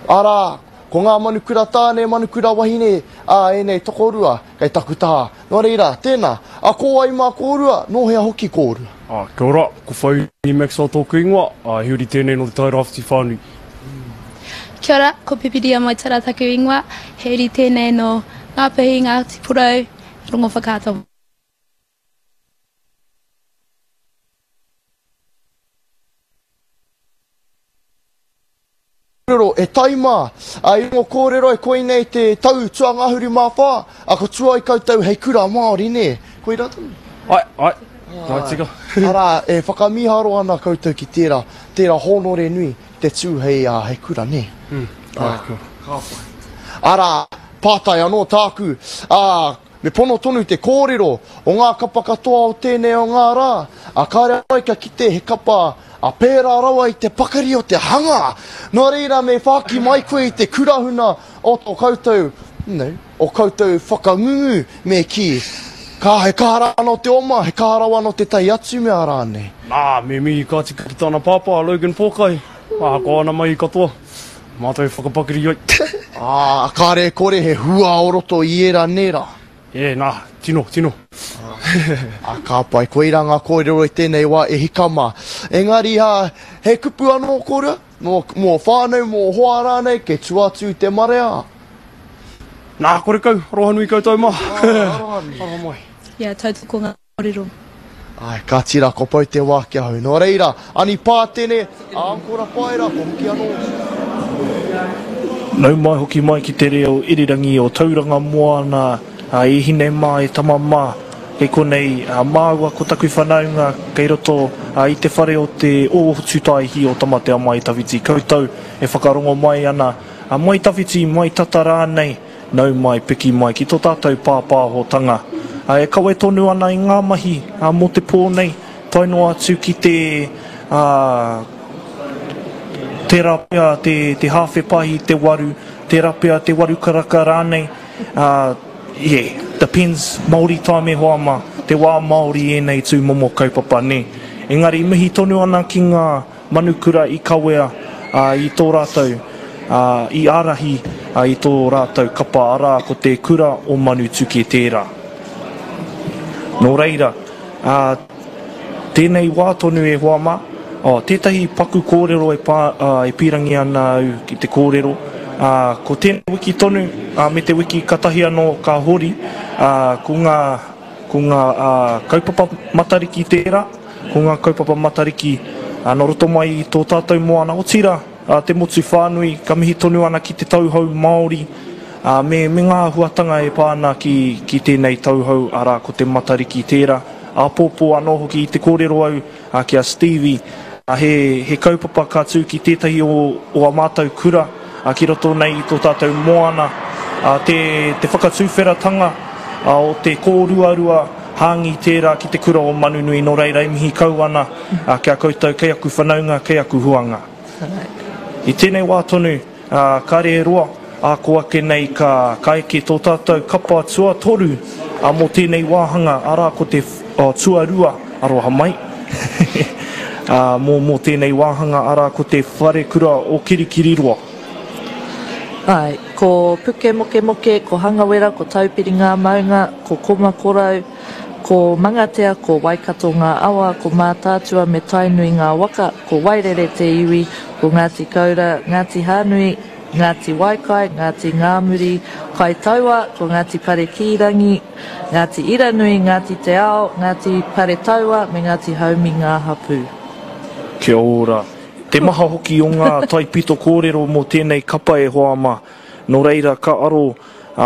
Arā, ko ngā manukura tāne, manukura wahine, ā, ēnei tokorua kei taku taha. Nō reira, tēnā, a ko wai mā kōrua, nō hea hoki kōrua? Ā, kia ora, ko Whairangi Maxwell tōku ingoa, ā, he uri tēnei nō Te Tai Rāwhiti whānui. Kia ora, ko Pipiria Moetara taku ingoa, he uri tēnei nō Ngāpuhi, Ngāti Porou, Rongowhakaata. Kōrero, e tai mā, a, i rongo kōrero e koinei te tau tuangahuru mā whā, a ko tua i koutou hei kura Māori, nē? Koirā tonu? Ae, ae, ae tika. Arā, e whakamīharo ana koutou ki tērā, tērā hōnore nui te tū hei, ā, hei kura, nē? Mm, ae, ka. Ka pai. Arā, pātai anō tāku, ā, Me pono tonu te kōrero o ngā kapa katoa o tēnei o ngā rā, ā, kāre ai kia kite he kapa ā pērā rawa i te pakari o te hanga. Nō reira me whāki mai koe i te kurahuna o tō koutou, you know, o koutou whakangungu me kī, ka, he kaha rā anō te oma, he kaha rawa anō tētahi atu mea rānei. Nā, me mihi ka tika ki tana pāpā, a Logan Pōkai, ahakoa ana mahi katoa. Mātou e whakapakari ai. Ā, kāre e kore he hua o roto i ērā nērā. Ē, nā, tino, tino. Ā, ka pai, koirā ngā kōrero i tēnei wā e hika mā. Engari, ā, he kupu anō kōrua? Mō, mō whānau, mō hoa rānei, kei tua atu i te marea? Nā, korekau, aroha nui koutou mā. Aroha nui. Aroha mai. Yeah, tautoko ngā. Kōrero. Āe, kāti rā, kua pau te wā ki ahau. Nō reira, Ani Pātene, a Ankora Paera, kua hoki anō. Nau mai hoki mai ki te reo irirangi o Tauranga Moana, e hine mā, e tama mā, kei konei māua ko taku whanaunga kei roto i te whare o te Ōhotutaihi o Tamatea Mai Tawhiti koutou e whakarongo mai ana, mai tawhiti, mai tata rānei. Nau mai, piki mai ki tō tātou pāpāhotanga e kawe tonu ana i ngā mahi mō te pō nei, tae noa atu ki te, ā, tērā pea te, te hāwhe pahi, te waru, tērā pea te waru karaka rānei, ā, yeah, depends, Māori time e hoa mā, te wā Māori ēnei tū momo kaupapa, nē. Engari mihi tonu ana ki ngā. Manukura i kawea i tō rātou, i ārahi i tō rātou kapa, arā, ko te kura o Manutuke tērā. Nō reira, tēnei wā tonu e hoa mā, tētahi paku kōrero e pā, e pīrangi ana au ki te kōrero, ko tēnei wiki tonu, me te wiki katahi anō ka hori, ko ngā, ko ngā kaupapa Matariki tērā, Ko ngā kaupapa Matariki nō roto mai i tō tātou moana, otirā, te motu whānui, ka mihi tonu ana ki te tauhou Māori me me ngā āhuatanga e pā ana ki ki tēnei tauhou, arā, ko te Matariki tērā. Āpōpō anō hoki i te kōrero au ki a Stevie, he he kaupapa ka tū ki tētahi o o a mātou kura ki roto nei i tō tātou moana, te te whakatuwheratanga o te kōruarua Hāngi tērā ki te kura o Manunui nō reira e mihi kau ana ki a koutou kei aku whanaunga, kei aku huanga. I tēnei wā tonu, kāre e roa, ā kō ake nei ka ka eke tō tātou kapa tuatoru mō tēnei wāhanga, arā ko te tuarua, aroha mai, mō mō tēnei wāhanga, arā ko te Wharekura o Kirikiriroa. Āe, ko Pukemokemoke, ko Hangawera, ko Taupiri ngā maunga, ko Komakorau, ko Mangatea, ko Waikato ngā awa, ko Mātaatua me Tainui ngā waka, ko Wairere te iwi, ko Ngāti Koura, Ngāti Hānui, Ngāti Waikai, Ngāti Ngāmuri, Kaitaua, ko Ngāti Parekīrangi, Ngāti Iranui, Ngāti Te Ao, Ngāti Paretaua me Ngāti Haumi ngā hapū. Kia ora. Te maha hoki o ngā taipito kōrero mō tēnei kapa e hoa mā. Nō reira ka aro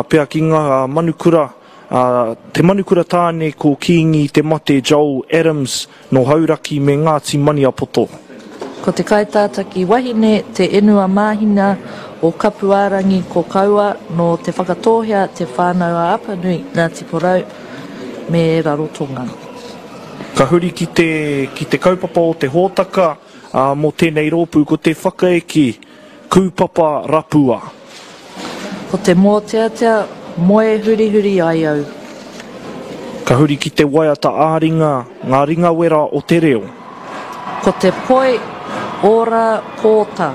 pea ki ngā manukura, te manukura tāne ko Kīngi Te Mate Joel Adams nō Hauraki me Ngāti Maniapoto. Ko te kaitātaki wahine Te Enua Māhina o Kapuārangi ko Kaua nō Te Whakatōhea Te Whānau-a-Apanui Ngāti Porou me Rarotonga. Ka huri ki te, ki te kaupapa o te hōtaka, ā, mō tēnei rōpū ko te whakaeke kūpapa rapua. Ko te mōteatea, moe hurihuri ai au. Ka huri ki te waiata ā-ringa, ngā ringawera o te reo. Ko te poi ora pōta.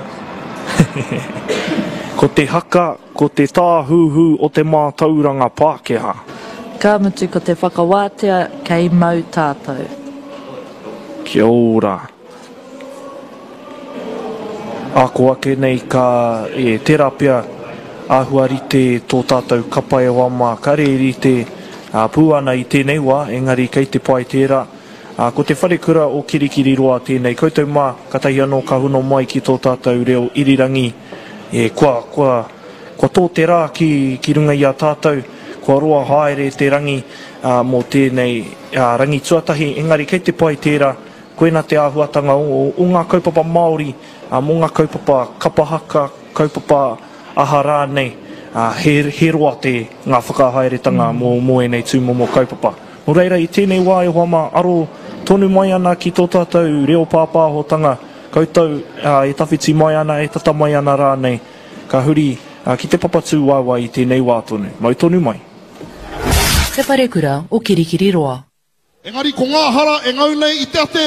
Ko te haka, ko te tāhuhu o te mātauranga Pākehā. Ka mutu ko te whakawātea kei mau tātou. Kia ora. Ako ake nei ka, e, tērā pea āhua rite tō tātou kapa e hoa mā, kare e rite pū ana i tēnei wā, engari kei te pai tērā. Ā, ko te wharekura o Kirikiriroa tēnei. Koutou mā, katahi anō ka hono mai ki tō tātou reo irirangi. E, kua, kua, kua tō te rā ki, ki runga i a tātou, kua roa haere te rangi, ā, mō tēnei, ā, rangi tuatahi, engari kei te pai tērā, koina te āhuatanga o, o ngā kaupapa Māori, ā, mō ngā kaupapa kapa haka, kaupapa aha rānei, ā, he, he roa te, ngā whakahaeretanga mō, mō ēnei tūmomo kaupapa. Nō reira, i tēnei wā e hoa mā, aro tonu mai ana ki tō tātou reo pāpāhotanga, koutou e tawhiti mai ana, e tata mai ana rānei, ka huri ki te papa tūwaewae i tēnei wā tonu. Mau tonu mai. Te Wharekura o Kirikiriroa. Engari ko ngā hara e ngau nei i te ate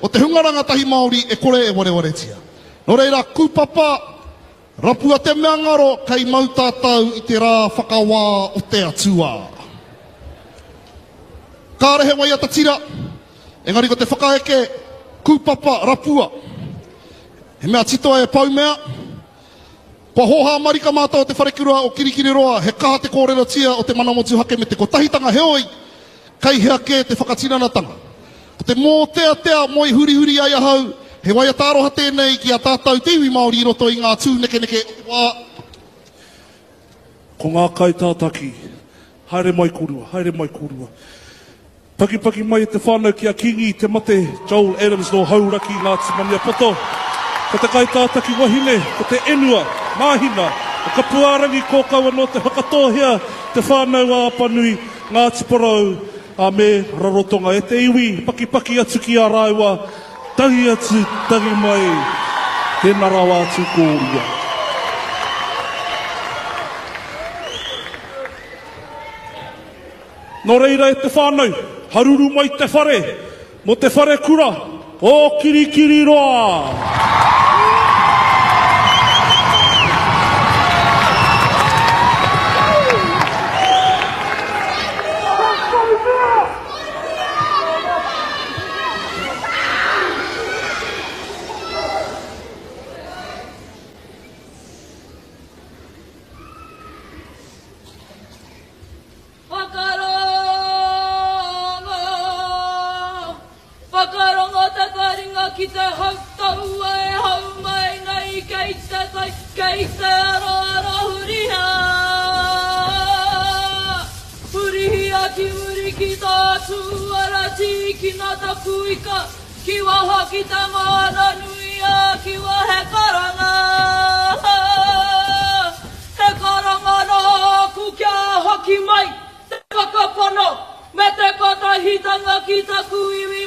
o te hunga rangatahi Māori e kore e warewaretia. Nō reira, kūpapa, rapua te mea ngaro kei mau tātou i te rā whakawā o te Atua. Kāre he waiata tira, engari ko te whakaeke, kūpapa, rapua. He mea titoa e Paumea. Kua hōhā marika mātou o Te Wharekura o Kirikiriroa, he kaha te kōrerotia o te mana motuhake me te kotahitanga heoi, kei hea kē te whakatinanatanga. Ko te mōteatea moe hurihuri ai ahau, he waiata aroha tēnei ki a tātou te iwi Māori i roto i ngā tūnekeneke o te wā. Ko ngā kaitātaki, haere mai kōrua, haere mai kōrua. Pakipaki mai e te whānau ki a Kingi Te Mate Joel Adams nō Hauraki, Ngāti Maniapoto. Ko te kaitātaki wahine, ko te Enua, Māhina, o Kapuārangi Kōkau anō Te Whakatōhea, Te Whānau-a-Apanui, Ngāti Porou, a me Rarotonga. E te iwi, pakipaki atu ki a rāua, tangi atu, tangi mai, tēnā rawa atu kōrua. Nō reira e te whānau, haruru mai te whare, mō te wharekura o Kirikiriroa! Whakarongo, whakarongo te taringa ki te hau taua e hau mai nei kei te tai, kei te aroaro hurihia. Hurihia ki muri ki tā tūara tīkina taku ika, ki waha ki te moana nui a Kiwa he karanga. He karanga nōku kia hoki mai te whakapono me te kotahitanga ki taku iwi.